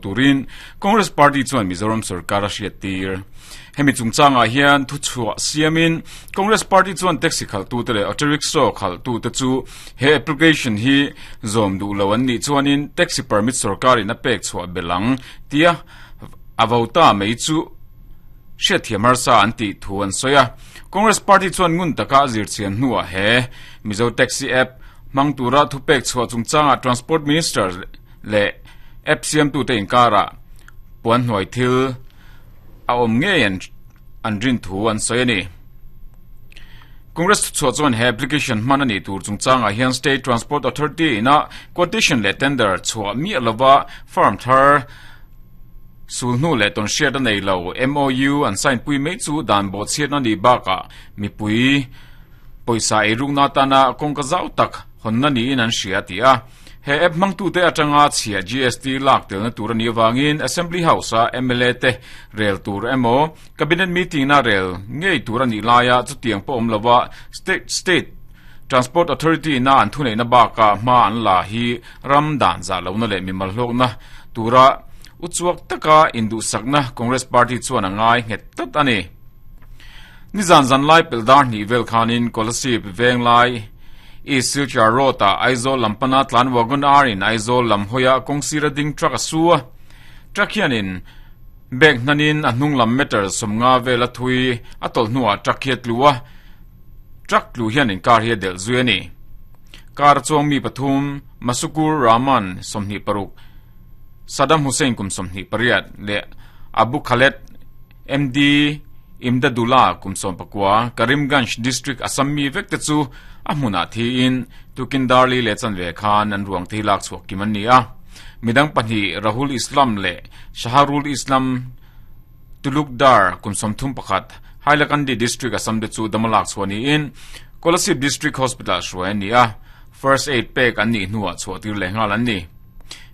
turin Congress Party chuan Mizoram sorkar a hriattir. Hemi chungchangah hian thuchhuah siamin Congress Party chuan taxi khalhtute leh auto rickshaw khalhtute chu he application hi zawm duh lo an nih chuanin taxi permit sorkarin a pek chhuah belh ang tia a vo ta mai chu hriatthiam harsa an tih thu an sawi a. Congress Party chuan ngun taka a zirchian hnuah he Mizo Taxi App hmang tura thupek chhuah chungchangah Transport Minister leh app siamtute inkarah puan hnuai thil a awm ngei an rin thu an sawi a ni. Congress thuchhuah chuan he application hman a nih tur chungchangah hian State Transport Authority ina quotation leh tender chhuah miah lova firm thar sulhnu leh tawnhriat a nei lo MOU an sign pui mai chu dan bawhchhiatna nih bakah mipui pawisa eirukna atana kawngka zau tak hawnna niin an hria a ti a. He app hmangtute atanga chhia GST lak telna tur a nih avangin Assembly House-a mla te rel tur emaw Cabinet meeting-na rel ngei tur a nih laia chutiang pawh awm lova State State Transport Authority-na an thuneihna bakah hma an la hi ram dan zah lohna leh mimal hlawkna tura uchuak taka induhsakna Congress Party chuan a ngai nghet tlat a ni. Nizan zan lai pelh dar hnih vel khanin Kolasib Venglai East Silchar Road ah Aizawl lam pana tlan Wagon R in Aizawl lam hawia kawngsir a ding truck a su a. Truck hianin bag hnanin a hnung lam meter 50 vel a thui a tawlh hnuah truck hi a tlu a. Truck tlu hianin car hi a delh zui a ni. Car a chuang mi pathum Masukur Rahman 26, Saddam Hussein kum 28 leh Abu Khaled MD Imdadullah kum 19, Karimganj District Assam mi vek te chu a hmunah thiin tukin Darli leh chanve khan an ruang te hi lak chhuah kim an ni a. Midang pahnih Rahul Islam leh Shaharul Islam Tulukdar kum 31, Hailakandi District Assam te chu dama lak chhuah niin Kolasib District Hospital-ah hruai an ni a, First Aid pek an nih hnuah chhuah tir leh nghal an ni.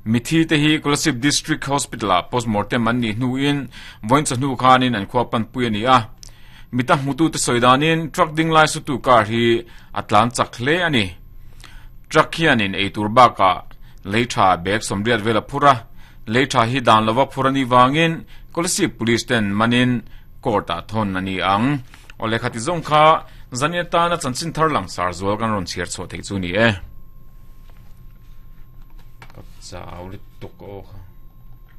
Mithi te hi Kolasib District Hospital ah postmortem an nih hnuin vawiin chawhnu khanin an khua panpui a ni a. Mita hmutute sawi danin truck ding lai sutu car hi a tlan chak hle a ni. Truck hianin eitur bakah lei tha bag 80 vel a phur a, lei tha hi dan lova phur a nih vangin Kolasib Police ten manin court ah thawn a ni ang. Aw lehkha ti zawng kha zan atana chanchin thar langsar zual kan rawn chhiar chhuah theih chu a ni e. Ka chau lutuk aw kha.